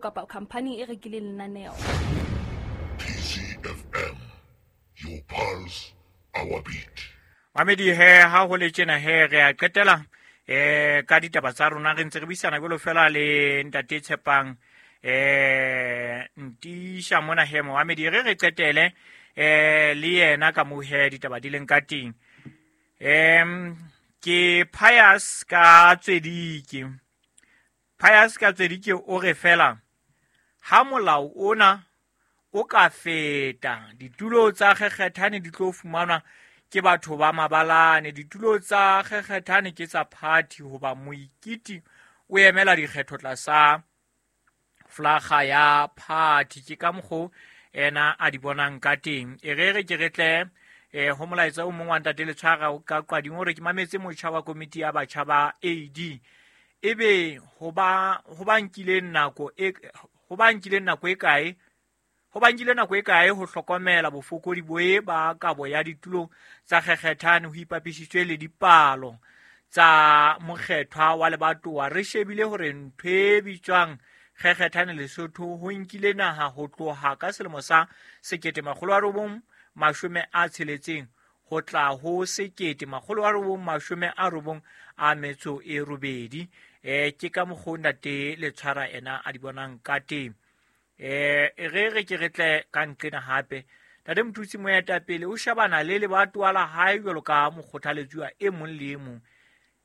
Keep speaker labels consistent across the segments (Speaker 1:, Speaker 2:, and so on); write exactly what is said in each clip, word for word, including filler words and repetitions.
Speaker 1: Kapa khampani e rekileng lenaneo.
Speaker 2: T C F M, your pulse, our beat.
Speaker 3: Mamedi he ha ho le tjena he re a qetela eh ka ditaba tsa rona re ntse re buisana jwalo fela le ntate Tshepang eh Ntisha mona he Mohamedi re re qetele eh le yena ka mo he ditaba di leng ka teng. Em ke Pius ka Tswedike. Pius ka Tswedike o re fela ha molao ona o ka feta ditulo tsa kgekgethane di tlo fumanwa ke batho ba mabalane, ditulo tsa kgekgethane ke tsa party hoba moikiti o emela dikgetho tlasa flaga ya party. Ke ka mokgo ena a di bonang ka teng. E re re ke re tle eh ho molaetsa o mong wa ntate Letshwara ka Qading hore ke mametse motjha wa komiti ya batjha ba A D ebe ho ba ho ba nkileng nako e ho ba nkileng nako e kae ho ba nkile nako e kae ho hlokomela bofokodi bo e ba kabo ya ditulo tsa kgekgethane ho ipapisitswe le dipalo tsa mokgethwa wa lebatowa. Re shebile hore ntho e bitswang kgekgethane Lesotho ho nkile naha ho tloha ka selemo sa sekete makgolo a robong mashome a tsheletseng ho tla ho sekete makgolo a robong mashome a robong a metso e robedi. Eh ke ka mokgo ntate Letshwara ena a di bonang ka teng. Eh re re ke re tle ka nqena hape ntate Mothusi moetapele o shebana le lebatowa la hae jwalo ka mokgothaletsuwa e mong le e mong.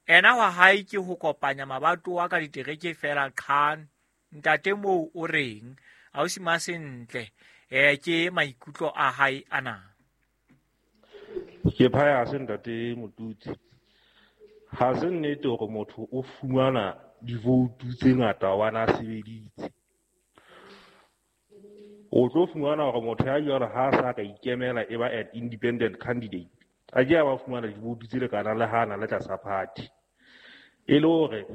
Speaker 3: Ena wa hae ke ho kopanya mabatowa ka ditereke fela qhan. Ntate moo o reng ausi Masentle eh ke maikutlo a hae ana.
Speaker 4: Ke Pius ntate Motutsi. Ha se nnete hore motho o fumana divoutu tse ngata hobane a sebeditse. O tlo fumana hore motho ya jwalo ha sa ka ikemela e ba an independent candidate. A ke a ba fumana divoutu tse lekanang le ha na le tlasa party. E le hore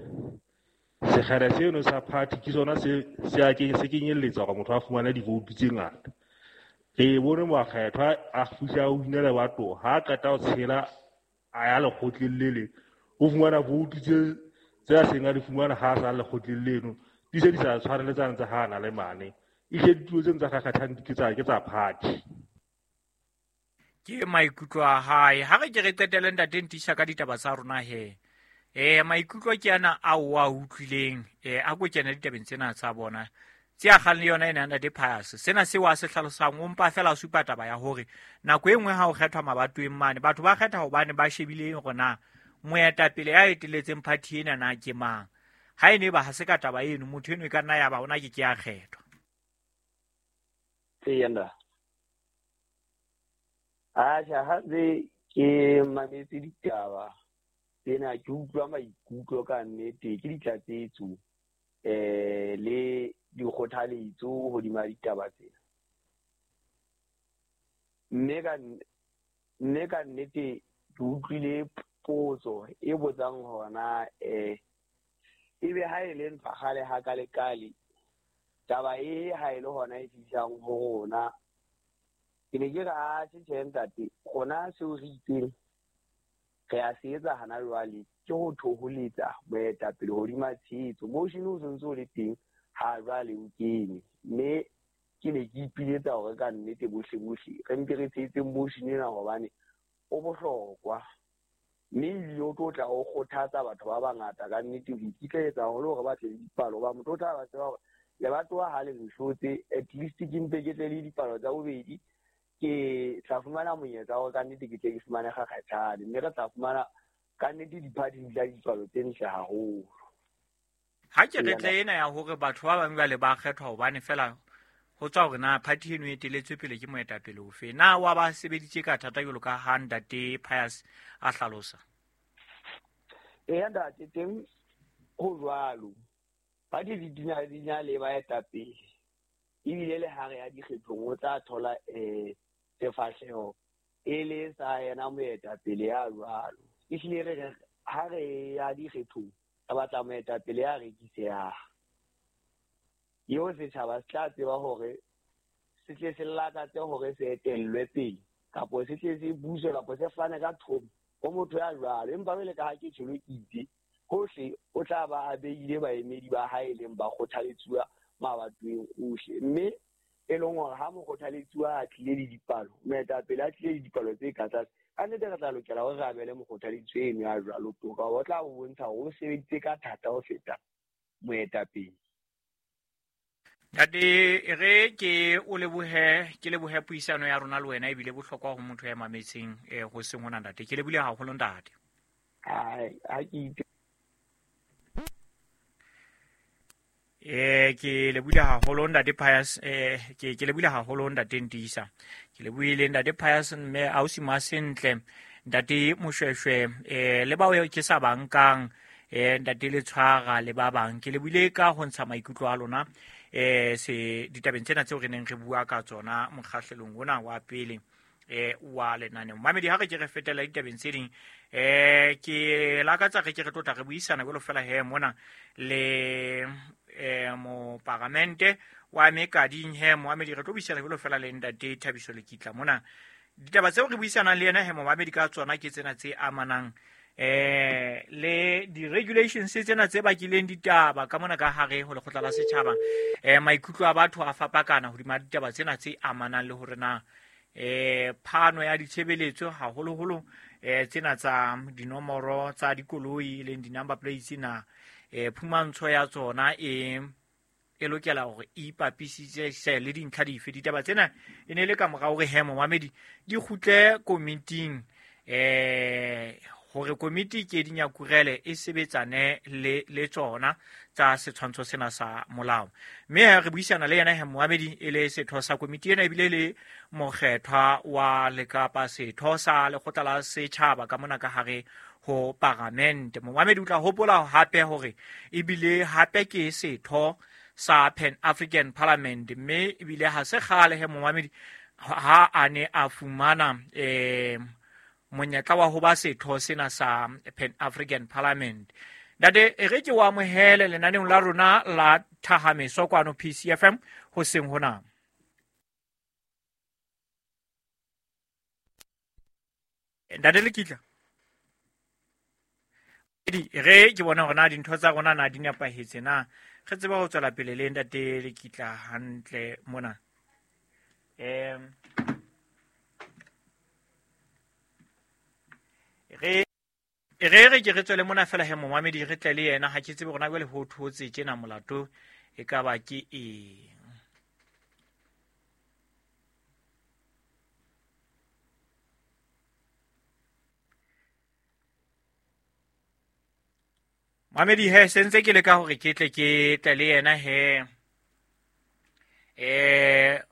Speaker 4: sekgele seno sa party ke sona se se a ke se kenyelletsa hore motho a fumane divoutu tse ngata. Re bone mokgethwa a fihla o wina lebatowa ha a qeta ho tshela a ya lekgotleng le leng o fumana voutu tse tse a seng a di fumana ha a sa lekgotleng leno di se di sa tshwane le tsane tsa ha a na le mane. Ehlile ditulo tseno tsa kgakgathane ke tsa ke tsa party.
Speaker 3: Ke maikutlo a hae. Ha re ke re qetele ntate Ntisha ka ditaba tsa rona he. Eh maikutlo ke ana a o a utlwileng eh a ko kena ditabeng tsena tsa bona. Tse a kgang le yona ena ntate Pius. Sena seo a se hlalosang o mpa fela supa taba ya hore nako e nngwe ha o kgethwa mabatoweng mane batho ba kgetha hobane ba shebile hore na moetapele ya eteletseng party ena na ke mang. Ha e ne ba ha se ka taba eno motho eno e ka nna ya ba ona ke ke a kgethwa.
Speaker 5: Eya. Atjha ha ntse ke mametse ditaba tsena ke utlwa maikutlo ka nnete ke ditlatsetso eh le dikgothaletso hodima ditaba tsena. Mme ka mme ka nnete ke utlwile potso e botsang hona eh ebe ha e le ntwa kgale ha ka lekale taba e ha e le hona e fihlang ho rona. Ke ne ke re atjhe tjhe ntate rona seo re itseng re a se etsa hana jwale ke ho thoholetsa moetapele hodima tshehetso. Motion o sentse o le teng ha jwale o kene mme ke ne ke ipiletsa hore ka nnete bohle bohle re mpe re tshehetseng motion ena hobane o bohlokwa mme ebile o tlo tla o kgothatsa batho ba bangata ka nnete ho ikitlaetsa haholo hore ba tle le dipalo hoba motho o tla ba tseba hore lebatowa ha le nhlotse at least ke mpe ke tle le dipalo tsa bobedi ke tla fumana monyetla wa ka nnete ke tle ke fumane kgakgathane mme re tla fumana ka nnete di-party di tla dipalo tse ntle haholo.
Speaker 3: Ha ke re tle ena ya hore batho ba bang jwale ba kgethwa hobane fela ho tswa hore na party eno e eteletswe pele ke moetapele ofe. Na wa ba sebeditse ka thata jwalo ka ha ntate Pius a hlalosa?
Speaker 5: Eya ntate teng ho jwalo. Party di dina di na le baetapele ebile le ha re ya dikgethong o tla thola eh sefahleho e le sa yena moetapele ya jwalo. Ehlile re ha re ya dikgethong re batla moetapele ya rekisehang. Eo setjhaba se tla tseba hore se tle se lakatse hore se etellwe pele kapo se tle se buswe kapo se fane ka thomo ho motho ya jwalo. Empa jwale ka ha ke tjholo ke itse hohle o tla ba a behile baemedi ba hae leng ba kgothaletsuwa mabatoweng ohle. Mme e leng hore ha mokgothaletsuwa a tlile le dipalo, moetapele a tlile le dipalo tse ka tlase, ka nnete re tla lokela hore re abele mokgothaletsuwa eno ya jwalo toka, o tla bo bontsha hore o sebeditse ka thata ho feta moetapele.
Speaker 3: Ntate, re ke o lebohe, ke lebohe puisano ya rona le wena, ebile bohlokwa ho motho ya mametseng eh ho seng hona ntate. Ke lebohile haholo ntate.
Speaker 5: Ai, ha ke
Speaker 3: Eh ke lebohile haholo ntate Pius, eh ke ke lebohile haholo ntate Ntisa. Ke lebohile ntate Pius mme ausi Masentle, ntate Moshweshwe, eh le bao ke sa bankang, eh ntate Letshwara le ba bang. Ke lebohile ka ho ntsha maikutlo a lona eh se ditabeng tsena tseo re neng re bua ka tsona mokgahlelong ona wa pele eh wa lenaneo. Mamedi, ha re ke re fetela ditabeng tse ding, eh ke lakatsa re ke re tlotla re buisana jwalo fela he mona le eh moparamente wa Mekading he moamedi, re tlo buisana jwalo fela le ntate Thabiso Lekitla mona. Ditaba tseo re buisanang le yena he moamedi ka tsona ke tsena tse amanang eh le di-regulations tsena tse bakileng ditaba ka mona ka hare ho lekgotla la setjhaba. Eh maikutlo a batho a fapakana hodima ditaba tsena tse amanang le hore na eh phano ya ditshebeletso haholoholo eh tsena tsa dinomoro tsa dikoloi leng di-number plates na eh phumantsho ya tsona e e lokela hore e ipapisitse le dintlha dife. Ditaba tsena e ne le ka mora hore he momamedi di kgutle komiting eh hore komiti ke dinyakurele e sebetsane le le tsona tsa setshwantsho sena sa molao. Mme re buisana le yena he moamedi e le setho sa komiti ena, ebile le mokgethwa wa Lekapa, setho sa lekgotla la setjhaba ka mona ka hare ho paramente. Moamedi o tla hopola hape hore ebile hape ke setho sa Pan African Parliament, mme ebile ha se kgale he moamedi ha a ne a fumana eh monyetla wa ho ba setho sena sa Pan African Parliament. Ntate, e re ke o amohele lenaneong la rona la Thahameso kwano P C F M hoseng hona. Ntate Lekitla, re ke bona hore na dintho tsa rona na di nepahetse na, re tseba ho tswela pele le ntate Lekitla hantle mona. Em re re re ke re tswele mona fela he momamedi re tle le yena, ha ke tsebe rona jwale ho thotse tjena molato e ka ba ke eng. Mamedi he sentse ke le ka hore ke tle ke tle le yena he eh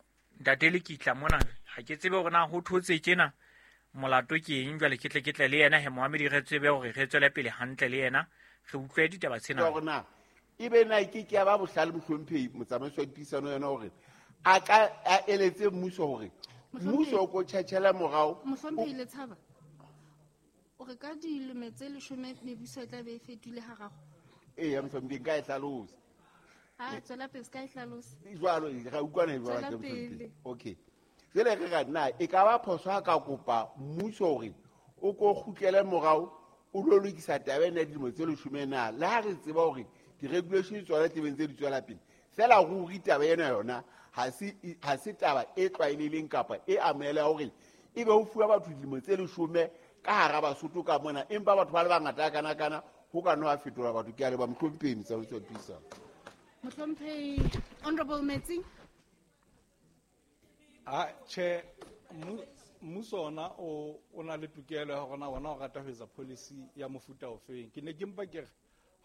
Speaker 3: ntate Lekitla mona, ha ke tsebe hore na ho thotse tjena molato ke eng. Jwale ke tle ke tle le yena he moamedi re tsebe hore re tswele pele hantle le yena, re utlwe ditaba tsena.
Speaker 6: Hore na ebe na ke ke ya ba bohlale mohlomphehi motsamaisi wa dipuisano yona hore a ka a eletse mmuso hore mmuso o ko tjhatjhela morao.
Speaker 7: Mohlomphehi Letshaba, o re ka dilemo tse leshome mebuso e tla be e fetohile hararo.
Speaker 6: Eya mohlomphehi, nka e hlalosa.
Speaker 7: Ha tswela pele, ska e hlalosa.
Speaker 6: Jwalo ra utlwana jwalo mohlomphehi. Okay. Jwale re ra na e ka ba phoso ha ka kopa mmuso hore o ko kgutlele morao o lo lokisa taba ena ya dilemo tse leshome na, le ha re tseba hore di-regulation tsona tebeng tse di tswela pele, fela ruri taba ena yona ha se ha se taba e tlwaelehileng kapa e amoheleha hore ebe ho fuwa batho dilemo tse leshome ka hara Basotho ka mona, empa batho ba le bangata kana kana ho ka nna ha fetola batho. Ke a leboha mohlomphehi motsamaisi wa dipuisano.
Speaker 7: Mohlomphehi Honorable Metsi.
Speaker 8: Ah, che mmuso ona o o na le tokelo ya hore na ona o rata ho etsa policy ya mofuta ofeng. Ke ne ke mpa ke re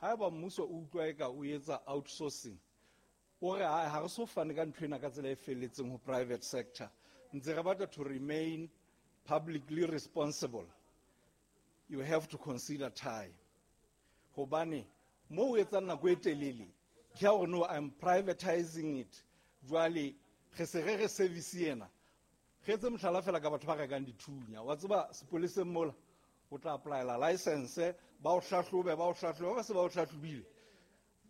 Speaker 8: haeba mmuso o utlwa eka o etsa outsourcing, o re ha re so fane ka ntho ena ka tsela e felletseng ho private sector, ntse re batla to remain publicly responsible, you have to consider time. Hobane mo o etsang nako e telele ke ha hore no, I'm privatizing it. Jwale re se re re service ena, re etse mohlala fela ka batho ba rekang dithunya. Wa tseba sepoleseng mola o tla applyela license, ba o hlahlobe, ba o hlahlobe, ba se ba o hlahlobile,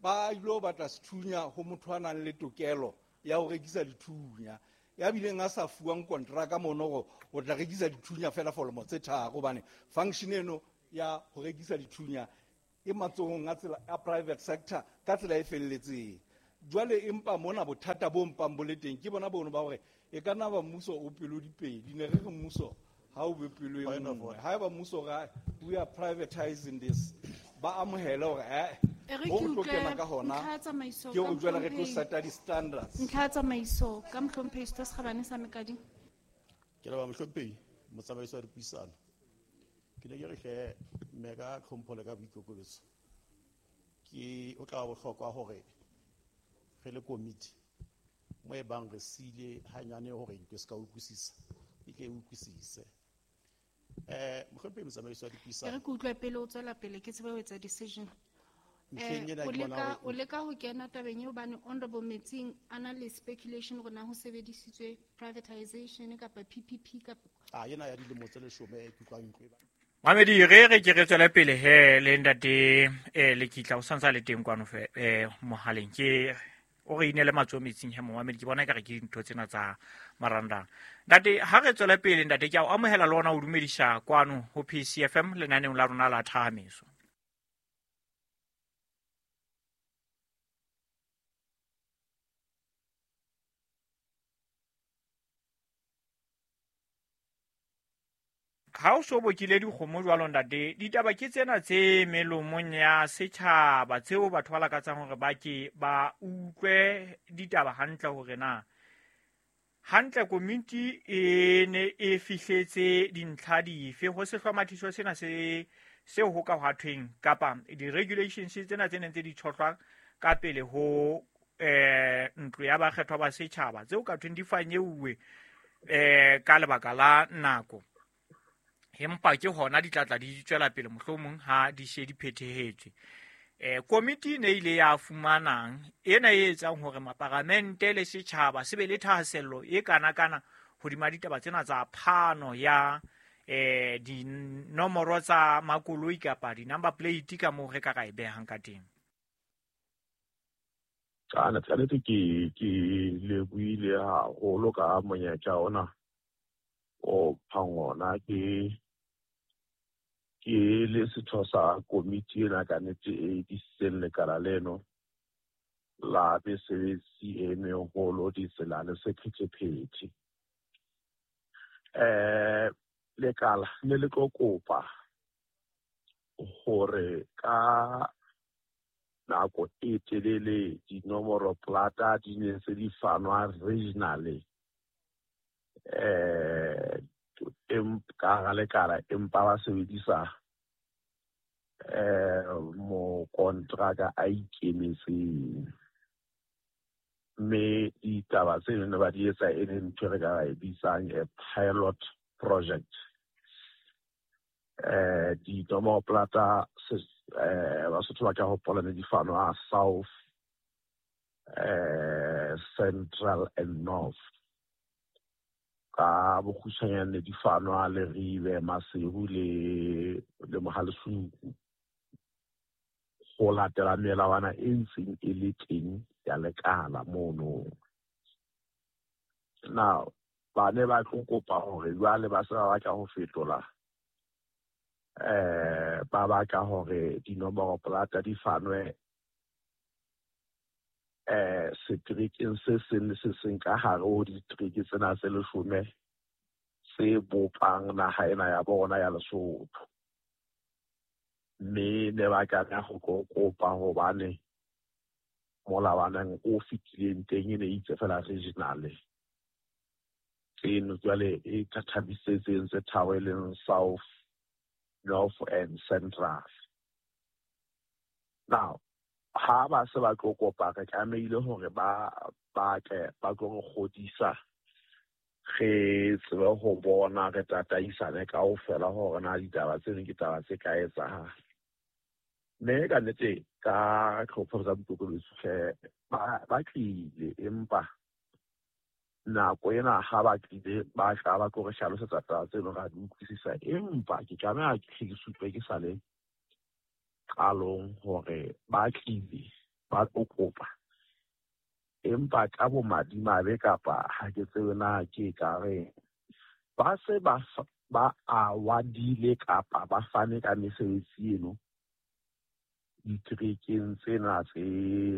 Speaker 8: ba ilo batla sethunya ho motho a nang le tokelo ya ho rekisa dithunya, ya bileng a sa fuwang kontraka mono hore o tla rekisa dithunya fela for lemo tse tharo, hobane function eno ya ho rekisa dithunya e matsohong a tsela a private sector ka tsela e felletseng. Jwale empa mona bothata bo mpang bo le teng ke bona bono ba hore e ka nna ba mmuso o pelo dipedi, ne re re mmuso ha o be pelo e nngwe. Haeba mmuso ra we are privatizing this, ba amohele hore eh
Speaker 7: E re
Speaker 8: ho
Speaker 7: ke
Speaker 8: tlo
Speaker 7: utlwe
Speaker 8: kena ka hona
Speaker 7: ntlha ya tsamaiso
Speaker 8: ke
Speaker 7: ka
Speaker 8: hore jwale re tlo
Speaker 7: mohlomphehi.
Speaker 8: seta di-standards.
Speaker 7: Ntlha ya tsamaiso ka mohlomphehi Setho se Kgabane sa Mekading.
Speaker 9: Ke leboha mohlomphehi motsamaisi wa dipuisano. Ke ne ke re hle mme ka tlhompho le ka boikokobetso, ke o tla ba bohlokwa hore re le komiti mo e bang re siile hanyane hore ntho e se ka utlwisisa, e tle e utlwisise. Eh, mohlomphehi motsamaisi wa
Speaker 7: E re
Speaker 9: dipuisano.
Speaker 7: ke utlwe pele o tswela pele ke tsebe ho etsa decision.
Speaker 9: Mehleng
Speaker 7: Eh,
Speaker 9: ena
Speaker 7: o
Speaker 9: ke bona
Speaker 7: leka
Speaker 9: hore
Speaker 7: o leka ho kena tabeng eo hobane Honorable Metsing a na le speculation hore na ho sebedisitswe privatization kapa P P P kapa
Speaker 9: Ah, ena ya dilemo tse leshome ke utlwang ntlo e ba.
Speaker 3: Mamedi re re ke re tswele pele he le ntate eh Lekitla o santsa le teng kwano fe eh mohaleng ke o re inele matsoho metsing he momamedi ke bona ekare ke dintho tsena tsa marangrang. Ntate ha re tswele pele ntate ke a o amohela le ona o dumedisa kwano ho P C F M lenaneong la rona la Thahameso. Ha o so bokile dikgomo jwalo ntate, ditaba ke tsena tse melomong ya setjhaba tseo batho ba lakatsang hore ba ke ba utlwe ditaba hantle hore na hantle komiti e ne e fihletse dintlha dife ho sehlomathiso sena se seo ho ka hwa thweng kapa di-regulations tsena tse neng tse di tshohlwa ka pele ho eh ntlo ya bakgethwa ba setjhaba tseo ka thweng di fanyeuwe eh ka lebaka la nako. Empa ke hona di tla tla di tswela pele mohlomong ha di she di phethehetswe. Eh komiti ne ile ya fumanang ena e etsang hore maparamente le setjhaba se be le thahasello e kana kana hodima ditaba tsena tsa phano ya eh dinomoro tsa makoloi kapa di-number plate ka moo re ka ra e behang ka teng.
Speaker 10: Ka nnete ke ke lebohile haholo ka monyetla ona o phang ona ke ke le setho sa komiti ena ka nnete e disitseng lekala leno la mesebetsi e meholo ditsela le sephethephethe. Eh lekala ne le tlo kopa hore ka nako e telele dinomoro plata di ne se di fanwa regionally eh em ka hara lekala empa ba sebedisa eh mokontraka a ikemetseng, mme ditaba tseno ne ba di etsa e le ntho e re ka e bitsang a pilot project. Eh dinomoro plata eh Basotho ba ka hopola ne di fanwa South, eh Central and North. Ka bokgutshwanyane di fanwa Leribe, Maseru le le Mohalesuku ho latela melawana e ntseng e le teng ya lekala mono. Now ba ne ba tlo kopa hore jwale ba se ba batla ho fetola eh ba batla hore dinomoro plata di fanwe eh seterekeng se seng le se seng ka hare ho ditereke tsena tse leshome se bopang naha ena ya bona ya Lesotho. Mme ne ba tlameha ho kopa hobane molawaneng o fetileng teng e ne itse fela regional tseno jwale e thathamisitseng tse tharo e leng South, North and Central. Now ha ba se ba tlo kopa re tlamehile hore ba ba tle ba tlo re kgodisa re tsebe ho bona re tataisane kaofela hore na ditaba tseno ke taba tse ka etsahala. Mme ka nnete ka tlhopho tsa boikokobetso hle ba ba tlile, empa nako ena ha ba tlile ba tla ba tlo re hlalosetsa taba tseno ra di utlwisisa, empa ke tlameha ke hle ke supe ke sa le qalong hore ba tlile ba tlo kopa, empa ka bomadimabe kapa ha ke tsebe na ke ka reng ba se ba ba awadile kapa ba fane ka mesebetsi eno diterekeng tsena tse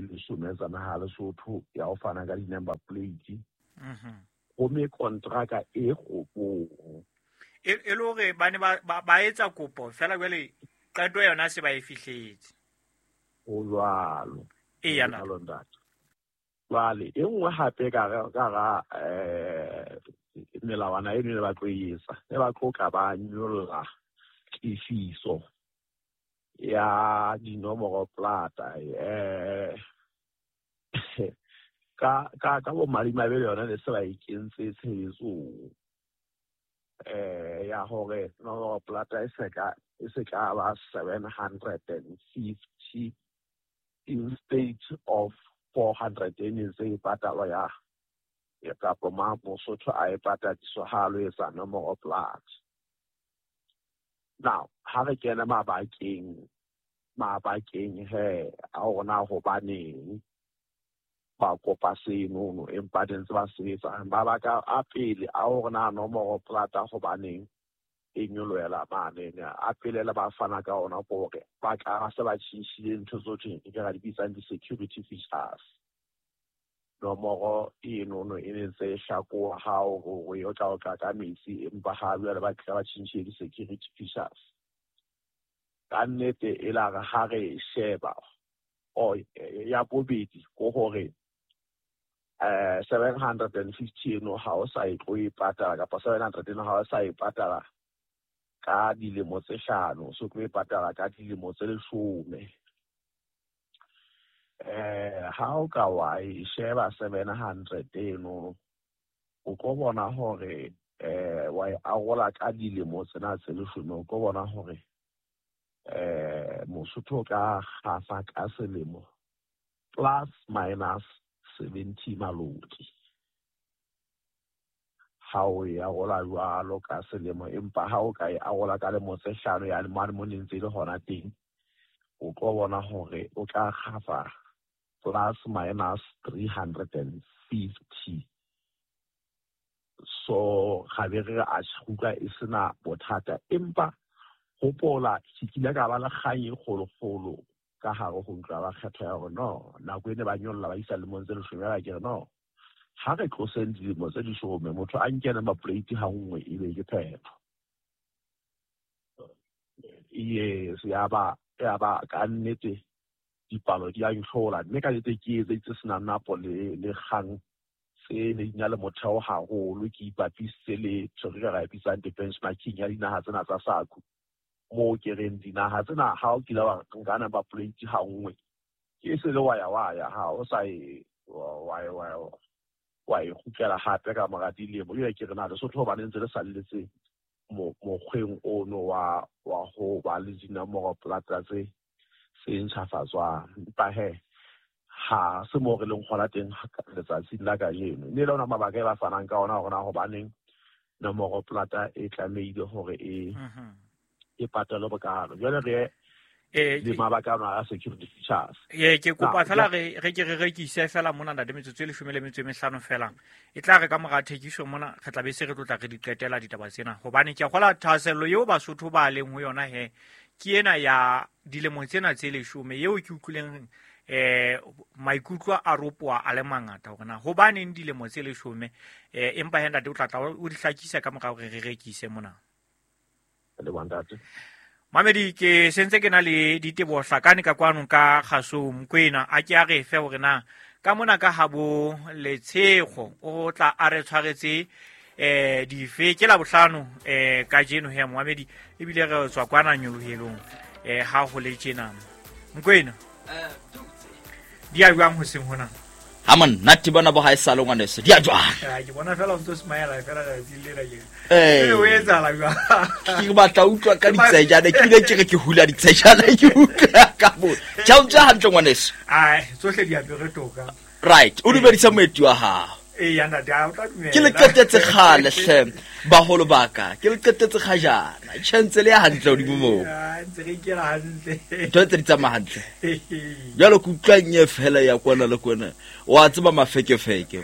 Speaker 10: leshome tsa naha Lesotho ya ho fana ka di-number plate. Gomme kontraka e kgopong
Speaker 3: e le hore ba ne ba etsa kopo fela jwale qeto yona se ba e fihletse.
Speaker 10: Ho jwalo.
Speaker 3: Eya
Speaker 10: ntate. Jwale e nngwe hape ka ka eh melawana eno ne ba tlo e etsa, ne ba tlo ka ba nyolla tefiso ya dinomoro plata eh ka ka ka bo madimabe le yona ne se ba e kentse tshebetsong eh ya hore nomoro plata e se ka e se ka ba seven hundred and fifty instead of four hundred e ne ntse e patalwa ya ya kapa ma Mosotho a e patadiswa ha lo etsa nomoro plata. Now ha re kena mabakeng mabakeng he a hore na hobaneng ba kopa senono empa ntse ba sebetsa mabaka a pele a hore na nomoro plata hobaneng e nyolohela mane a pele le ba fana ka ona hore ba tla se ba tjhintjhile ntho tsohle ke ra di bitsang di-security features. Nomoro enono e ne ntse e hlakoha ha hore o tla o tla ka metsi empa ha jwale ba tla ba tjhintjhile di-security features. Ka nnete e la re ha re e sheba o ya bobedi ko hore eh seven hundred and fifty eno ha o sa e tlo e patala kapa seven hundred eno ha o sa e patala ka dilemo tse hlano, so tlo e patala ka dilemo tse leshome. Eh ha o ka wa e sheba seven hundred eno o tlo bona hore eh wa e arola ka dilemo tsena tse leshome, o tlo bona hore eh Mosotho ka kgafa ka selemo plus minus seventy maloti ha o e arola jwalo ka selemo, empa ha o ka e arola ka lemo tse hlano ya mane mo ne ntse le hona teng o tlo bona hore o tla kgafa plus minus three hundred and fifty. So ga be re a tjhuka e sena bothata, empa hopola ke kile ka ba le kgang e kgolokgolo ka hare ho ntlo ya bakgethwa ya hore no nako e ne ba nyolla ba isa lemong tse leshome ba ke re no ha re tloseng dilemo tse leshome motho a nke number plate ha nngwe e be ke phetho. Yes, ya ba ya ba ka nnete dipalo di a ntlhola mme ka nnete ke etseditse senang napo le le kgang tse ne di na le motheo haholo, ke ipapisitse le ntho re ka e bitsang di-benchmarking ya dinaha tsena tsa SACU moo ke reng dinaha tsena ha o kile wa nka number plate ha nngwe ke se le wa ya wa ya ha o sa e wa wa wa e kgutlela hape ka mora dilemo. Jwale ke re na Lesotho hobane ntse le salletse mokgweng ono wa wa ho ba le dinomoro plata tse se ntjhafatswang, empa he ha se mo re leng hona teng letsatsing la kajeno. Mme le ona mabaka e ba fanang ka ona hore na hobaneng nomoro plata e tlamehile hore e e patalwe bokalo. Jwale re
Speaker 3: eh
Speaker 10: le mabaka ana a security features.
Speaker 3: Eh ke kopa fela re re ke re rekise fela mona ntate metsotso e leshome le metso e mehlano fela. E tla re ka mora thekiso mona re tla be se re tlotla re di qetela ditaba tsena hobane ke a kgola thahasello eo Basotho ba leng ho yona he ke ena ya dilemo tsena tse leshome eo ke utlwileng eh maikutlo a ropoa a le mangata hore na hobaneng dilemo tse leshome eh empa he ntate o tla tla o di hlakisa ka mora hore re rekise mona.
Speaker 10: Le ntate
Speaker 3: Mamedi ke sentse ke na le diteboho hlakane ka kwano ka kgasong Mokwena a ke a re fe hore na ka mona ka habo Letshego o tla a re tshwaretse eh dife ke la bohlano eh kajeno he Mohamedi ebile re tswa kwana nyolohelong eh ha ho le tjena Mokwena
Speaker 11: eh
Speaker 3: di a jwang ho seng hona
Speaker 11: ha monate bona bo ha e sale ngwaneso di a jwang
Speaker 3: eh ke bona fela o ntso smile fela letsatsi le la ke
Speaker 11: eh
Speaker 3: o etsahala jwang
Speaker 11: ke batla utlwa ka ditsejana ke bile ke re ke hula ditsejana ke utlwa ka bo tjao tja hantle ngwaneso
Speaker 3: ai tsohle di apere toka
Speaker 11: right o dumedisa moeti wa hao
Speaker 3: eh ya ntate a o tla dumela
Speaker 11: ke le qetetse kgale hle baholo baka ke le qetetse kgajana tjhentse le ya hantle hodimo moo
Speaker 3: ntse re ikela hantle
Speaker 11: ntho tse di tsamaya hantle jwalo ke utlwa nye fela ya kwana le kwana wa tseba mafekefeke
Speaker 3: o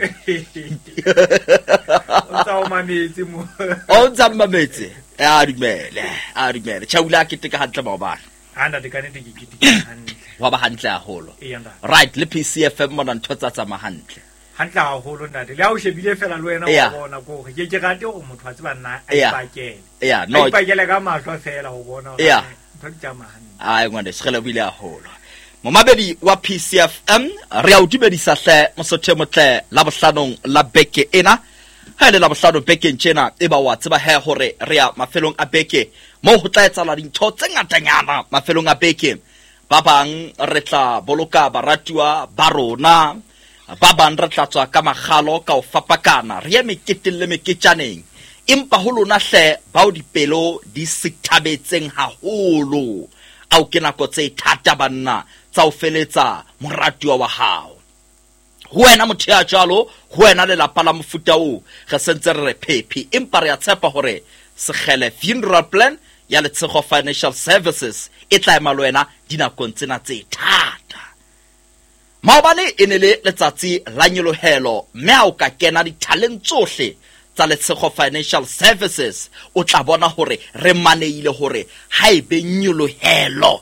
Speaker 3: tsa o mametse mo
Speaker 11: o ntsa mametse a dumele a dumele tjhaula ke teka hantle maobane
Speaker 3: a ntate ka nnete ke keteka hantle
Speaker 11: Wa ba hantle haholo.
Speaker 3: Eya, ntate.
Speaker 11: Right, le P C F M mona ntho tsa tsamaya hantle.
Speaker 3: Hantle haholo ntate. Le ha o shebile fela le wena
Speaker 11: Yeah.
Speaker 3: wa bona ko hore ke ke rate hore motho a tseba nna a
Speaker 11: Yeah.
Speaker 3: ipakele.
Speaker 11: Yeah,
Speaker 3: A
Speaker 11: no.
Speaker 3: ipakele ka mahlo fela ho bona hore
Speaker 11: Yeah.
Speaker 3: ntho di tsamaya hantle.
Speaker 11: Ai ngwaneso, re lebohile haholo. Momamedi wa P C F M, re a o dumedisa hle mosotho e motle la bohlanong la beke ena. Ha e le la bohlano bekeng tjena, e ba wa tseba he hore re ya mafelong a beke moo ho tla etsahala dintho tse ngatanyana mafelong a beke. Ba bang re tla boloka baratuwa ba rona, ba bang re tla tswa ka makgalo ka ho fapakana, re ye meketeng le meketjaneng. Empa ho lona hle bao dipelo di sithabetseng haholo, ao ke nako tse thata banna tsa ho feletsa moratuwa wa hao. Ho wena motho ya jwalo, ho wena lelapa la mofuta oo, re sentse re re phephi, empa re a tshepa hore Sekgele Funeral Plan ya Letshego Financial Services e tla ema le wena dinakong tsena tse thata. Maobane e ne le letsatsi la nyolohelo, mme ha o ka kena dithaleng tsohle tsa Letshego Financial Services, o tla bona hore re maneile hore ha e be nyolohelo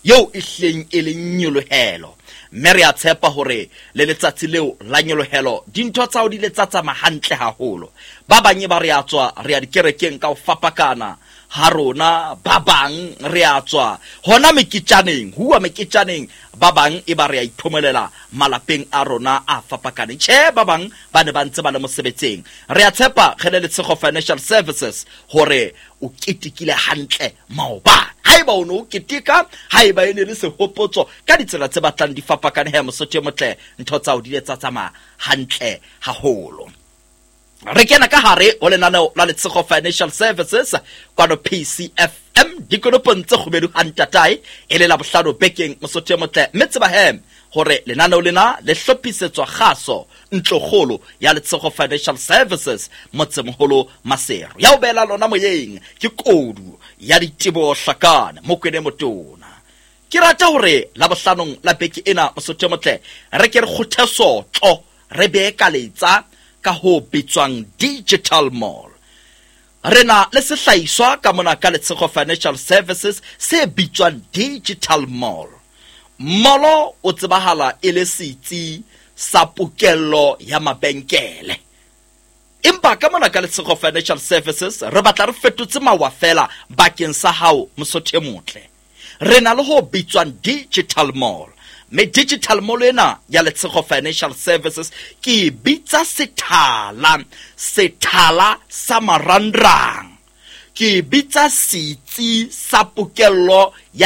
Speaker 11: eo e hleng e leng nyolohelo. Mme re a tshepa hore le letsatsi leo la nyolohelo dintho tsa hao di le tsa tsamaya hantle haholo. Ba bang ba re a tswa re ya dikerekeng ka ho fapakana ha rona, ba bang re a tswa hona meketjaneng, huwa meketjaneng, ba bang e ba re a iphomolela malapeng a rona a fapakaneng. Tjhe, ba bang ba ne ba ntse ba le mosebetsing. Re a tshepa re le Letshego Financial Services hore o ketekile hantle maobane. Haeba o ne o keteka, haeba e ne le sehopotso ka ditsela tse batlang di fapakane, he mosotho e motle, ntho tsa hao di le tsa tsamaya hantle haholo. Re kena ka hare ho lenaneo la Letshego Financial Services kwano P C F M dikonopong tse kgubedu ha ntatae, e le la bohlano bekeng mosotho e motle. Mme tseba he hore lenaneo lena le hlophisetswa kgaso ntlokgolo ya Letshego Financial Services motsemoholo Maseru. Ya o beela lona moyeng ke kodu ya diteboho hlakane Mokwene Motona. Ke rata hore la bohlanong la beke ena mosotho e motle re ke re kgothe sotlo, re beekaletsa ka ho bitswang Digital Mall. Re na le sehlahiswa ka mona ka Letshego Financial Services se bitswang Digital Mall. Molo o tsebahala e le setsi sa pokello ya mabenkele. Empa ka mona ka Letshego Financial Services re batla re fetotse mawa fela bakeng sa hao mosotho e motle. Re na le ho bitswang Digital Mall. Me Digital Mall ena ya Letshego Financial Services ke bitsa sethala, sethala sa marangrang. Ke bitsa setsi sa pokello ya